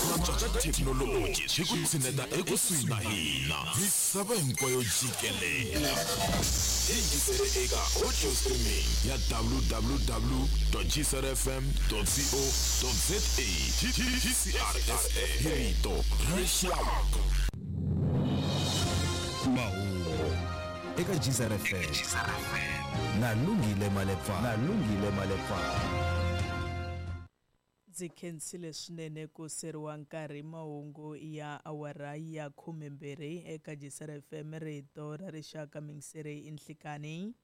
Cinca ka thekinoloji swi ku tshineta ekusuhi na hina misava hinkwayo jikelele. Yingisele eka audio streaming ya www.gcrfm.co.za. GCRFM, hi rito ra rixaka. Mahungu eka GCRFM na Lungile Malepfana. Na Lungile Malepfana. Ndzi khensile swinene ku seriwa nkarhi. Mahungu ya awara ya 12 eka Gisela FM, rito ra rixaka. Mingiseri i nhlikani.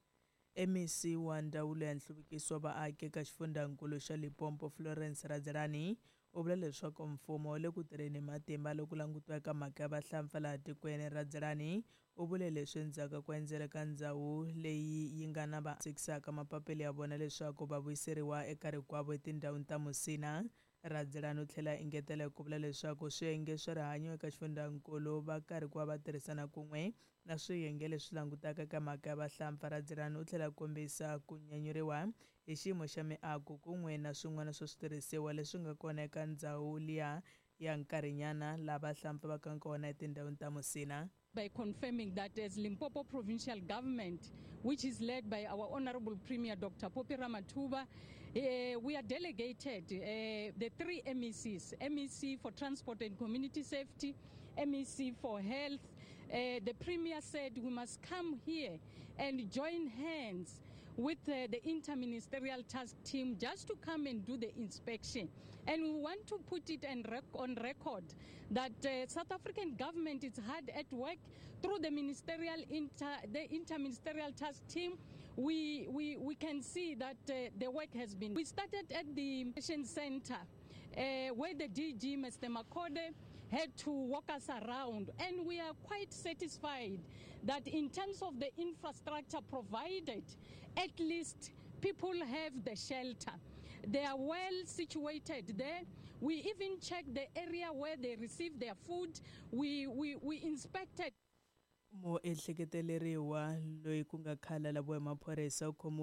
MEC wa Ndzawulo ya Nhluvukiso wa Vaaki eka xifundzankulu xa Limpopo, Florence Radzilani, u vula leswaku mfumo wu le ku tirheni hi matimba loko langutiwa eka mhaka ya vahlampfa laha tikweni. Radzilani u vule leswi endzhaku ka ku endzela ka ndhawu leyi yi nga na va tsikisaka mapapila ya vona leswaku va vuyiseriwa eka rikwavo etindhawini ta Musina. Radzilani u tlhela engetela hi ku vula leswaku swiyenge swa rihanyo eka xifundzankulu va karhi ku va va tirhisana kun'we na swiyenge leswi langutaka eka mhaka ya vahlampfa. Radzilani u tlhela kombisa ku nyanyuriwa hi xiyimo xa miako kun'we na swin'wana swa switirhisiwa leswi nga kona eka ndhawu liya ya nkarhinyana laha vahlampfa va ka kona etindhawini ta Musina. By confirming that as Limpopo Provincial Government, which is led by our Honorable Premier Dr. Phophi Ramathuba, we are delegated the three MECs, MEC for Transport and Community Safety, MEC for Health. The Premier said we must come here and join hands with the interministerial task team just to come and do the inspection. And we want to put it on record that South African government is hard at work through the interministerial task team. We can see that the work has been. We started at the mission center where the DG, Mr. Makode, had to walk us around, and we are quite satisfied that in terms of the infrastructure provided, at least people have the shelter. They are well situated there. We even checked the area where they receive their food. We inspected. Muehleketeleriwa loyi ku nga khale a laviwa hi maphorisa u khomiwile.